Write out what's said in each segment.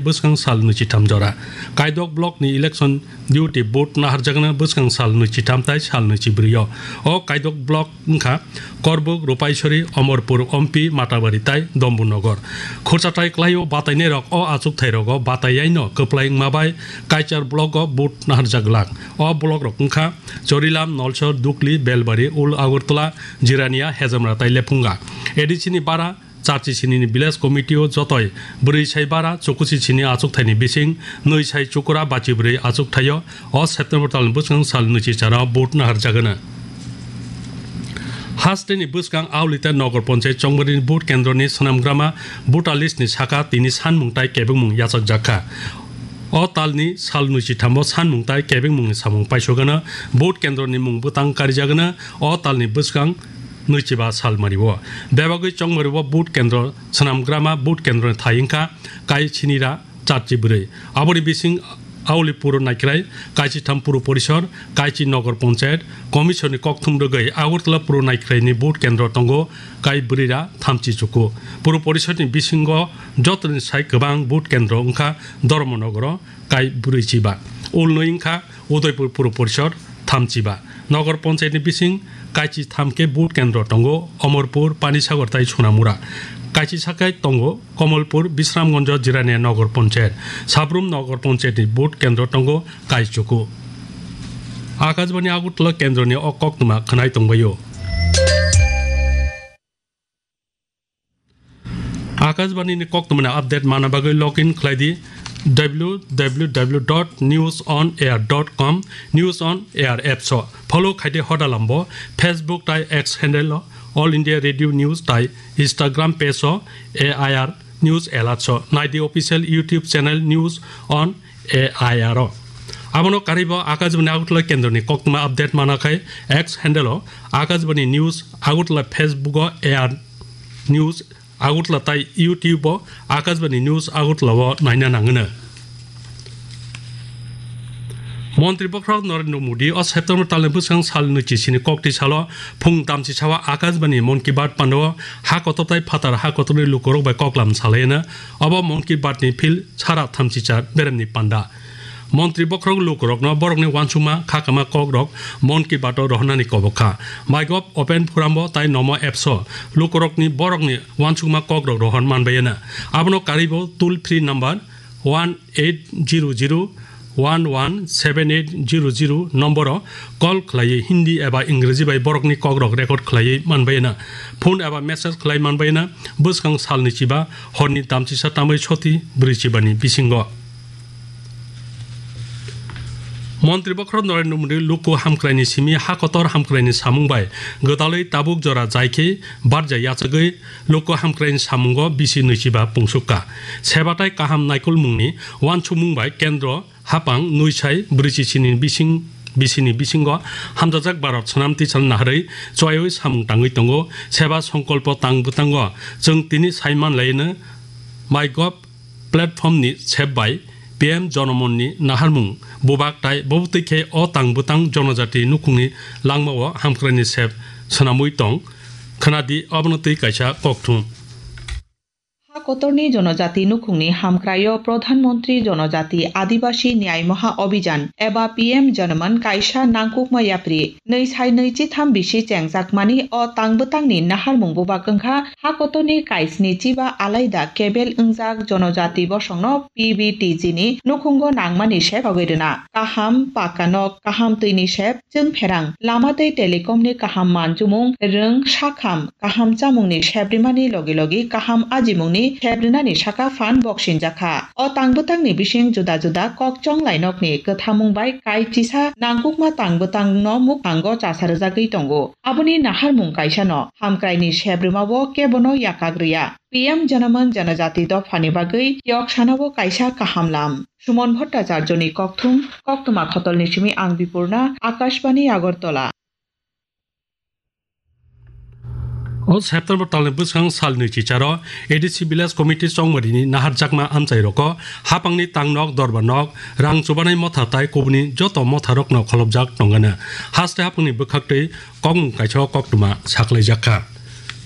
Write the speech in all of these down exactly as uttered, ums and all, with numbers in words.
bwskang sal nwichitham jora. Kaidok block ni election duty vote naharjakna bwskang sal nwichitham tai sal nwichibrwi o. O Kaidok block wngkha Korbuk, Rupaisori, Omorpur, Ompi, Matabari tai Dombunogor. Khursathai kwlaio batainairok o achukthairok o bataiyaino kwplai wngma bai Kaichar block o vote naharjak glak. O block rok wngkha Chorilam, Nolsor, Dukli, Belbari, Ul Agartala, Jirania, Hejamra tai Lephunga. A D C ni bara charchi sini ni village committee o jotoi bwrwi sai bara chukusi sini achukthai ni bising nwi sai chukura bachi bwrwi achukthai o o September tal ni bwskang sal nwichi chara vote naharjagana. Haste ni bwskang Aulita Nogor Panchayat Chongmari ni vote kendro ni swnamgrama voter list ni saka tini sanmung tai kebengmung yachakjakha. O tal ni sal nwichi thamo sanmung tai kebengmung ni samung paisogana vote kendro ni mung bwtang karijagana o tal ni bwskang nwichiba salmari o. Bebagwi Chongmari o vote kendro swnamgrama vote kendro ni thai wngkha Kaichinira charchi bwrwi. Aboni bising Auli Puro Naikrai, Kaichitham Puro Porisor, Kaichi Nogor Panchayat, Commission ni kokthum rwgwi Agartala Puro Naikrai ni vote kendro tongo kai bwrwira thamchi chuku. Puro Porisor ni bisingo jotoni sai kwbang vote kendro wngkha Dharmanogoro kai bwrwi chiba. Ulnwi wngkha Udaipur Puro Porisor thamchiba. Nogor Panchayat ni bising kaichi thamkhe vote kendro tongo Omorpur, Panisagar tai Sonamura. Kaichi sakai tongo Komolpur, Bisramganj, Jirania Nogor Panchayat. Sabrum Nogor Panchayat ni vote kendro tongo kaichuku. Akashbani Agartala kendro ni o koktwma khwnai tongbaio. Akashbani ni koktwmani update mana bagwi log in khlai di w w w dot news on air dot com, News on Air apps o. Follow khai di hoda lambo, Facebook tai X handle o All India Radio News tai Instagram page o A I R News Alerts o. Nai di official YouTube channel News on A I R o. Abono karwi bo Akashbani Agartala kendroni koktwma update mana khai X handle o Akashbani News Agartala, Facebook o A R News Agartala tai YouTube o Akashbani News Agartala o naina nangwino. Montri Bokhorok Narendra Modi o September talni bwskang sal nwichi sini kokti salo phung tamchi sawa Akashbani Mon Ki Baat pando ha kotor tai phatar ha kotorni lukurok bai koklam salaino. Obo Mon Ki Baat ni phil sara thamchi cha beremni panda. Montri Bokhorok lukurokno borokni uansukma khakama kokrok Mon Ki Baat o rohornani kobok kha. MyGov Open Forum o tai Nomo apps o lukurokni borokni uansukma kokrok rohor manbaiyana. Abono karwibo toll free number one eight zero zero one one seven eight zero zero nomboro call khlaiwi Hindi eba Ingreji bai borokni kokrok record khlaiwi manbaiyana. Phone eba message khlai manbaiyana bwskang salni chiba horni tamchisa tambai soti brwi chibani bisingo. Montri Bokhorok Narendra Modi luku hamkraini simi ha kotor hamkraini samung bai gwdalwi tabuk jora jai khe barja yachagwi luku hamkraini samungo bisi nwichiba pungsukka. Seba tai kaham naikolmungni uansukmung bai kendro hapang nwi sai brwichi sini bising, bisini bisingo hamjajak Bharat Swnam Tisal naharwi chuaiwi samung tangwi tongo. Seba songkolpo tang bwtango chwng tini sai manlaino MyGov platform ni sep bai P M Jonomon ni naharmung bubak tai bobo twi khe o tang bwtang jonojati nukhungni langmao hamkraini sep swnamwi tong. Khwnadi obono twi kaisa kokthum. Ha kotorni jonojati nukhungni hamkraio Pradhan Mantri Jonojati Adibasi Nyay Maha Abhijan eba P M Janaman kaisa nangkukma yapri. Nwi sai nwi chitham bisi chengjakmani o tang bwtangni naharmung bubak wngkha ha kotorni kaisni chiba alaida kebel wngjak jonojati bosongno P B T G ni nukhungo nangmani sep sogwi rwna. Kaham paka nok, kaham twini sep, chwng pherang, lama tei telecom ni kaham manjumung, rwng, sakham, kaham chamungni sep rimani logi logi kaham ajimungni sep rinani saka phan boksinjakha. O tang bwtangni bising juda juda kok chonglai nokni kwthamung bai kai chisa nangkukma tang bwtangno mukhango chasa rwjagwi tongo. Aboni naharmung kaisano, hamkraini sep rwmao kebono yakak rwya. P M Janaman Janajati dophani bagwi yok sanao kaisa kaham lam. Suman Bhattacharjoni kokthum, koktwma khotolni simi ang Bipurna, Akashbani Agartala. O September talni bwskang salni chicharo A D C Village Committee Chongmarini naharjakma amchai roko hapangni tangnok, dorba nok, rang chubanai motha tai kubuni joto motha rokno kholopjak tongano. Haste hapangni bwkhaktwi kokmung kaisa koktwma saklaijakha.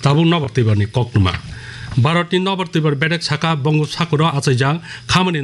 Tabuk nobar twibarni koktwma. Bharatni nobar twibar bedek saka Bongosagoro achaijak khamani